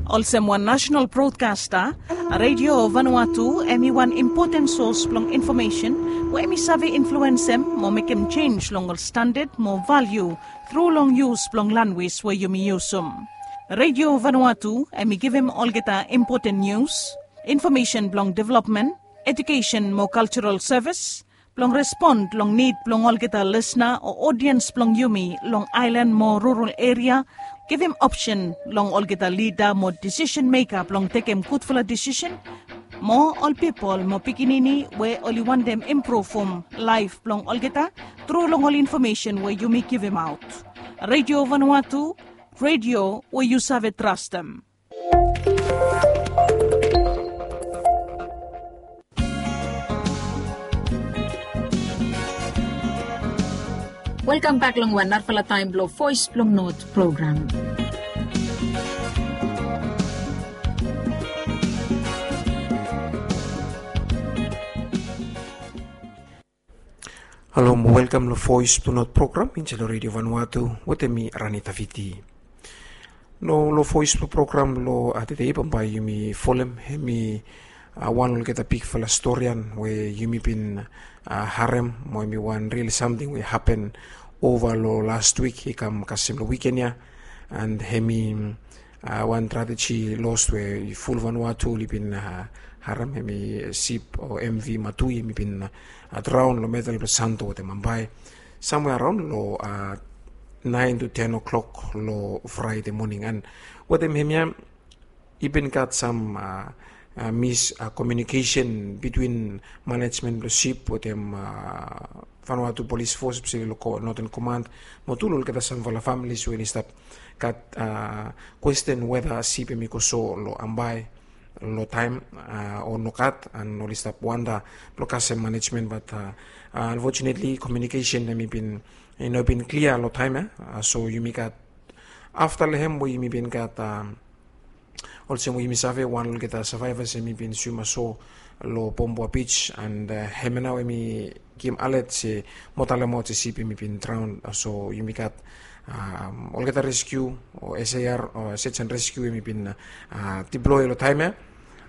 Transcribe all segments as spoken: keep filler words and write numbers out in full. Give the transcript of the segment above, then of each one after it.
Olsem wan nasenal brodkasta, Radio Vanuatu em i wan impoten sos blong infomesen we em i save influensem mo mekem jenis long ol standad mo valiu tru long yus blong lanwis we yumi yusum. Radio Vanuatu em i givim olgeta impoten nius, infomesen blong developmen, ejukesen mo kaljaral sevis, blong respon long nid blong olgeta lisna o odiens blong yumi long aelan mo rural eria, givim opsen long olgeta lida mo disisen meka blong tekem gudfala disisen, mo ol pipol mo pikinini we oli wantem impruvum laef blong olgeta tru long ol infomesen we yumi givimaot. Radio Vanuatu, radio we yu save trastem. Welkam bek long wan narafala taem blong Voes blong Not program. Halo mo welkam long Voes blong Not program insait long Radio Vanuatu wetem mi Rani Taviti. No long Voes blong program long tede bambae yumi folem hemi wan olgeta bigfala stori we yumi bin harem mo hemi wan ril samting we hapen ova long last wik i kam kasem long wiken ya. And hemi wan trajeji los we ful Vanuatu oli bin harem, hemi sip o M V Matui hemi bin draon long medel blong Santo wetem bambae samwe araon long naen tu ten o'clock long Fraede moning. And wetem hemia i bin gat sam miskomiunikesen bitwin manejmen blong sip wetem Vanuatu Polis Fos, espeseli long Noten Komand mo tu long olgeta samfala familis we oli stap gat kwesten weta sip hemi go so long bambae long taem o nogat, and oli stap wanda blong kasem manejmen, bat anfojinetli komiunikesen hemi bin i no bin klia long taem ya. So yumi gat afta long hem we yumi bin gat olsem we yumi save wan olgeta savaevas hemi bin swim aso long Pombua Beach, and hemia nao hemi givim alet se mo talemaot se sip hemi bin draon. So yumi gat olgeta reskiu o S A R o search and rescue hemi bin deploy long taem ya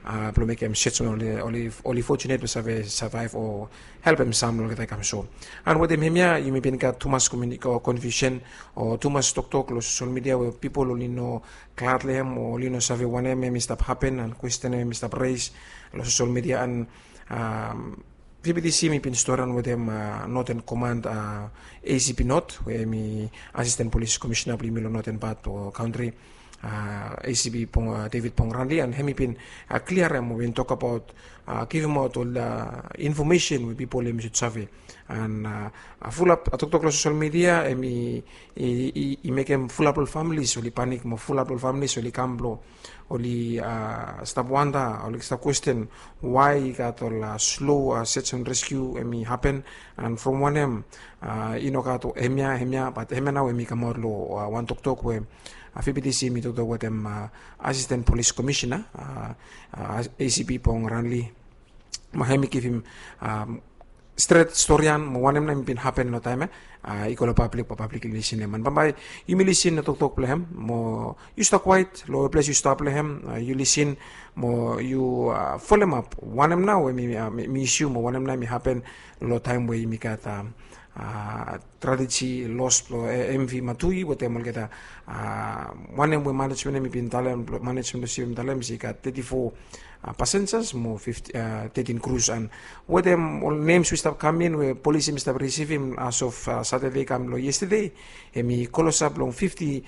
blong mekem search we oli, oli fojunet blong save savaev o helpem sam long olgeta i kam so. And wetem hemia yumi bin gat tumas konfiusen o tumas toktok long sosel midia we pipol oli no glad long hem o oli no save wanem hemi stap hapen, and kwesten hemi stap res long sosel midia. And V P T C hemi bin storian wetem Noten Komand, A C P Not we hemi asisten polis komisena blong yumi long noten pat o kantri, A C P Pong, David Pong Ranli, and hemi bin kliarem o bin tokbaot, givimaot ol infomesen we pipol hemi sud save. And fulap toktok long sosel midia hemi i mekem fulap ol familis oli panik mo fulap ol familis oli kam blong oli stap wanda, oli stap kwesten wae i gat ol slo search and rescue hemi hapen. And from wanem i no gat hemia, hemia, bat hemia nao hemi kamaot long wan toktok we V P T C hemi toktok wetem asisten polis komisena, A C P Pong Ranli, mo hemi givim stret storian mo wanem nao hemi bin hapen long taem ya i go long pablik, mo pablik i lisin hem. And bambae yumi lisin long toktok blong hem, mo yu stap kwaet long ples yu stap long hem, yu lisin mo yu folemap wanem nao hemi isu mo wanem nao hemi hapen long taem we yumi gat trajeji los blong M V Matui wetem olgeta wanem we manejmen hemi bin talem, manejmen blong sip hemi talem se i gat teti fo pasenjas mo tetin krus. And wetem ol nems we i stap kam in we polis hemi stap risivim as of Satade kam long yestade, hemi klosap long fifti